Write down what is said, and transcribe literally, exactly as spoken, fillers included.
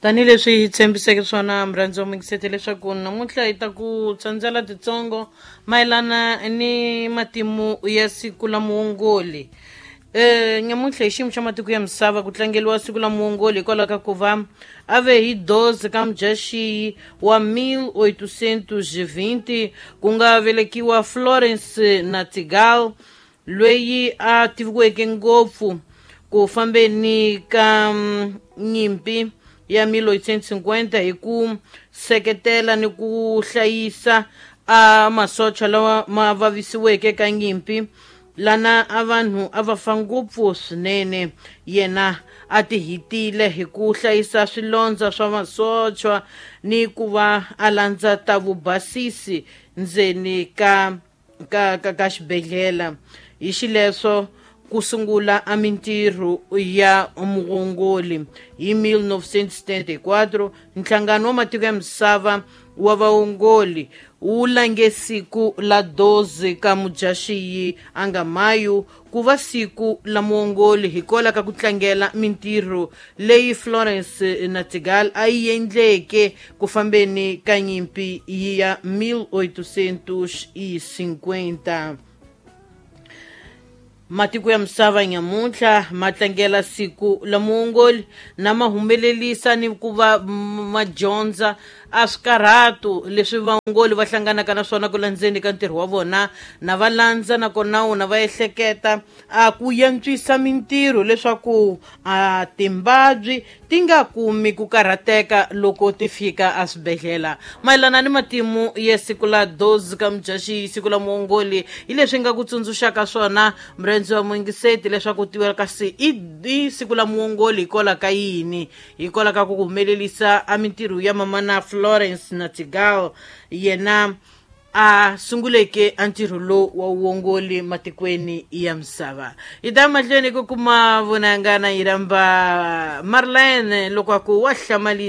Tanihileswi hi tshembiseke swona murhandzi wa muyingiseti leswaku namuntlha hi ta ku tsandzela titsongo mayelana ni matimu ya siku la muongoli. Eh nyamuntlha hi xiyimo xa matiko ya misava ku tlangeriwa siku la muongoli hikwalaho ka ku va a ve hi doze ka mudyaxihi wa mil oitocentos vinte ku nga velekiwa Florence Nightingale loyi a tiviweke ngopfu ku fambeni ka nyimpi ya mil oitocentos cinquenta hi ku seketela ni ku hlayisa a masocha lawa ma vavisiweke ka nyimpi lana a vanhu a va fa ngopfu swinene. Yena a ti hitile hi ku hlayisa swilondza swa masocha ni ku va a landza ta vubasisi ndzeni ka ka ka, ka xibedhlele. Hi xileswo ku sungula a mintirho ya muongoli hi mil novecentos setenta e quatro nhlangano wa matiko ya misava wa vaongoli wu lange siku la doze ka mudyaxihi a nga mayu ku va siku la muongoli hikwalaho ka ku tlangela mintirho leyi Florence Nightingale a yi endleke ku fambeni ka nyimpi ya mil oitocentos cinquenta. Matiko ya misava nyamuntlha ma tlangela siku la muongoli na ma humelelisa ni ku va ma dyondza a swikarhato leswi vaongoli va hlanganaka na swona ku landzeni ka ntirho wa vona, na va landza nakona wona va ehleketa a ku yantswisa mintirho leswaku a timbabyi ti nga kumi ku karhateka loko ti fika eswibedhlele. Mayelana ni matimu ya siku la doze ka mudyaxihi siku la muongoli hi leswi nga ku tsundzuxaka swona murhandzi wa muyingiseti leswaku tiwela kasi i siku la muongoli hikwalaho ka yini, hikwalaho ka ku humelelisa a mintirho ya mamana Florence Nightingale yena a sunguleke a ntirho lowu wa vuongoli matikweni ya misava. Hi ta mahlweni ku kuma vunangana yi rhamba Marlene loko a ku wa hlamalisa.